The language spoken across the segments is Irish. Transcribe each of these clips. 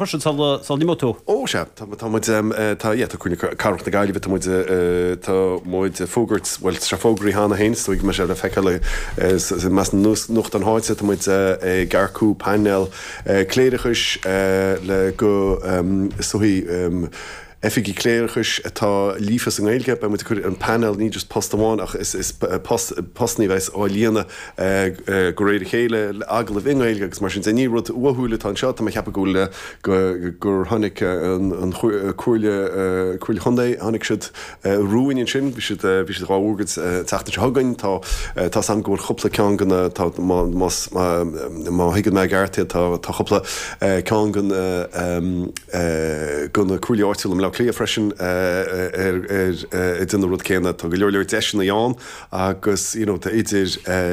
Freisin sula n-imeoidh tú. Ó, sea, tá, tá muid, tá, yeah, tá Comhairle Cathrach na Gaillimhe, tá muid, tá muid ag fógairt, bhuel, tá sé fógraithe cheana féin, is dóigh go mbeidh sé le feiceáil i measc na nuachtán na háite, tá muid ag earcú painéal cléireachais le go, is dóigh, Oifigigh Cléireachais atá líofa sa nGaeilge. Beidh muid ag cur an painéal, ní just post amháin ach is post, postanna a bheas á líonadh de réir a chéile, le agallaimh i nGaeilge agus mar sin de. Ní rud uathúil atá anseo, tá mé ag ceapadh go bhfuil, go, gur tháinig an Chomhairle, Comhairle Chontae, tháinig siad romhainn ansin, bhí siad, bhí siad dhá bhfógairt an tseachtain seo chugainn. Tá, tá 's a'm go bhfuil cúpla ceann de na, tá, má, más, má thuigeann mé i gceart iad, tá, tá cúpla ceann de na, de na comhairlí áitiúla i mBleá Cliath freisin ar ag déanamh an rud céanna. Tá go leor leor deiseanna ann agus you know tá idir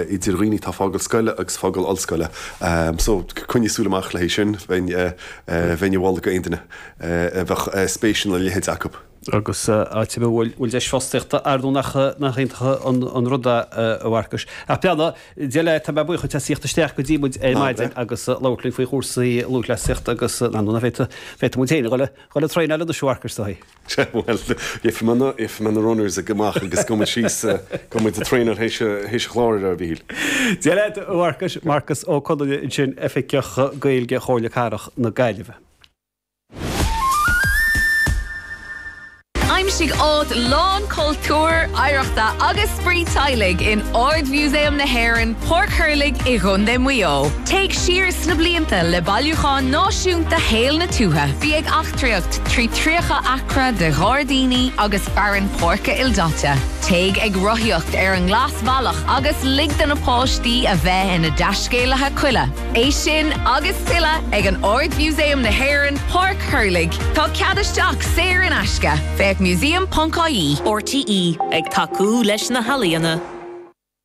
idir dhaoine atá ag fágáil scoile agus fágáil ollscoile. So coinnigh súil amach le haghaidh sin, bheinn bheinn ag moladh go aon duine a bheadh spéis ina leithéid acu. Agus áit a bhfuil deis fostaíochta, ar ndóigh nach nach iontach an rud é a Mharcais. Ach beannacht Dé leat, tá mé buíoch duit as theacht isteach go dtí muid ar maidin agus labhairt linn faoi chúrsaí lúthchleasaíochta agus ar ndóigh féadfaidh féadfaidh muid féin a dhul a dhul ag traenáil anois a Mharcais is dóigh. Sea, bhuel, gheobhaidh mé na gheobhaidh mé na runners ag amach agus gabhfaidh muid síos gabhfaidh muid ag traenáil théis théis an chláir, a Mhíchíl. Dia leat, a Mharcais, Marcas Ó Conaire ansin, Oifigeach Gaeilge Chomhairle Cathrach na Gaillimhe. Aimsigh áit lán cultúir, oidhreachta agus spraoi teaghlaigh in Ard-Mhúsaem na hÉireann, Páirc Thurlaigh i gContae Mhaigh Eo. Téigh siar sna blianta le bailiúchán náisiúnta shaol na tuaithe. Bí ag eachtraíocht trí 30 acra de ghairdíní agus fearann páirce ildaite. Téigh ag rothaíocht ar an nGlasbhealach agus lig do na páistí a bheith ina dtaiscéalaithe coille. É sin agus tuilleadh ag an Ard-Mhúsaem na hÉireann, Páirc Thurlaigh. Tá cead isteach saor in aisce. Féach museum.ie. RTÉ, ag tacú leis na healaíona.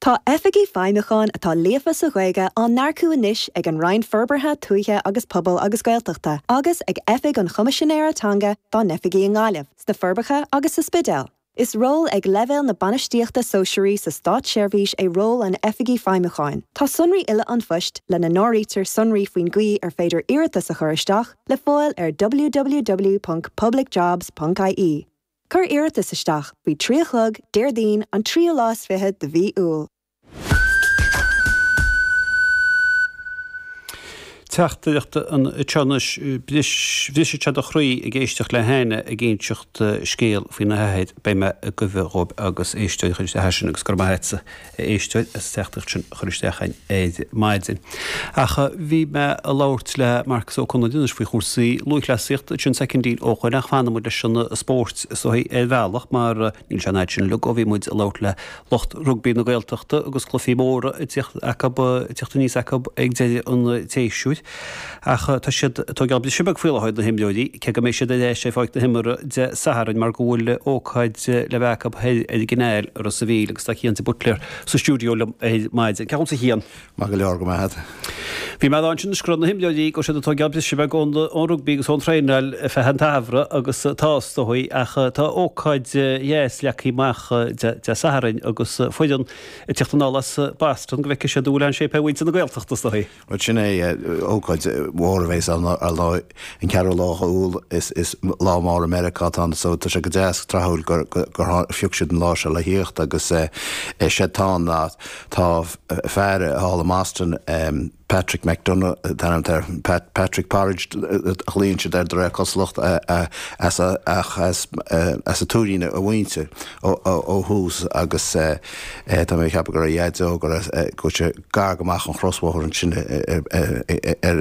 Tá Oifigigh Feidhmiúcháin atá líofa sa Ghaeilge á n-earcú anois ag an Roinn Forbartha Tuaithe agus Pobail agus Gaeltachta agus ag Oifig an Choimisinéara Teanga dá n-oifigí i nGaillimh, sna Forbacha agus sa Spidéal. Is ról ag leibhéal na bainistíochta sóisearaí sa státseirbhís é ról an Oifigigh Feidhmiúcháin. Tá sonraí uile an phoist, lena n-áirítear sonraí faoin gcaoi ar féidir iarratas a chur isteach, le fáil ar www.publicjobs.ie. Cuir iarratas isteach faoi 3 a chlog, Déardaoin, an tríú lá is fiche de mhí Iúil. Teachtaireacht anseo anois, Brisfeadh sé do chroí ag éisteacht le hAine ag inseacht scéal faoina hathair, beidh mé ag goimhe dhóibh agus éisteoir a chuir isteach é sin agus go raibh maith agatsa a éisteoir as an teachtaireacht sin a chur isteach againn ar maidin. Ach bhí mé ag labhairt le Marcus Ó Conaire anois faoi chúrsaí lúthchleasaíochta ansin soicindín ó shoin ach fanfaidh muid leis an spórt is dóigh ar bhealach mar níl sé an fhad sin uilig ó bhí muid ag labhairt le lucht rugbaí na Gaeltachta agus cluichí móra ag tíocht acu, ag tíocht aníos acu ag deireadh an tséasúir. Ach tá siad ag tógáil briseadh beag faoi láthair, na himreoirí, cé go mbeidh siad ar ais ar pháirc na himeartha Dé Sathairn mar go bhfuil ócáid le bheith acu thoir ar an gCanáil i Ros a' Mhíl agus tá Cian de Buitléar sa stiúideo liom ar maidin. Cén chaoi a bhfuil tú a Chian? Maith go leor, go maith agat. Bhí mé ag rá ansin anois go raibh na himreoirí, go raibh siad ag tógáil briseadh beag ón rugbaí agus ón traenáil ar feadh an tsamhraidh agus tá is dóigh, ach tá ócáid dheas leagtha amach Dé Sathairn agus foireann ag tíocht anall as Boston go bhfeicfidh siad an bhfuil aon shape ar mhuintir na Gaeltachta is dóigh. Bhuel sin é, ócáid mhór a bheas ann ar ndóigh, an ceathrú lá Iúil is lá mór i Meiriceá atá ann so tá sé go deas tráthúil gur phioc siad an lá seo le thíocht agus is é atá ann ná Tá fear thall i mBoston, Patrick McDonagh an t-ainm atá air, Patrick Porridge a ghlaonn siad air de réir cosúlacht, as ach as an Tuairín a mhuintir ó thús agus tá mé ag ceapadh go raibh a dhaideo go raibh go bhfuil sé gar go maith an chrosbhóthar ansin ar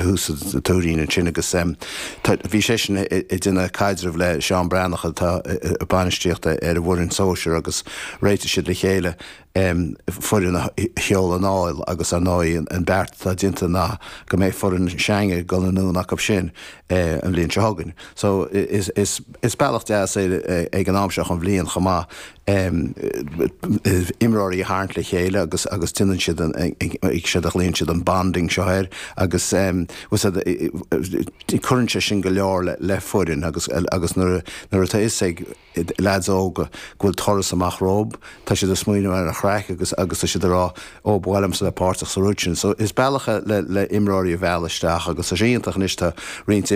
thús an Tuairín ansin agus bhí seisean ag déanamh caidreamh le Seán Breathnach atá ag bainistíocht ar an bhfoireann sóisir agus réitigh siad le chéile foireann a sheoladh anall agus ar ndóigh an beart atá déanta ná go mbeidh foireann s'againne ag dul anonn acu sin an bhliain seo chugainn. So is bealach deas é ag an am seo den bhliain chomh maith imreoirí a tharraingt le chéile agus agus déanann siad an séard a ghlaonn siad an bonding seo air agus cuireann sé sin go leor le foireann agus agus nuair nuair atá fhios ag leaids óga go bhfuil turas amach rompu, tá siad ag smaoineamh ar an chraic agus agus tá siad ag rá, ó, ba mhaith liomsa bheith páirteach sa rud sin. So. Is bealach é le imreoirí a mhealladh isteach agus tá sé iontach anois tá roinnt.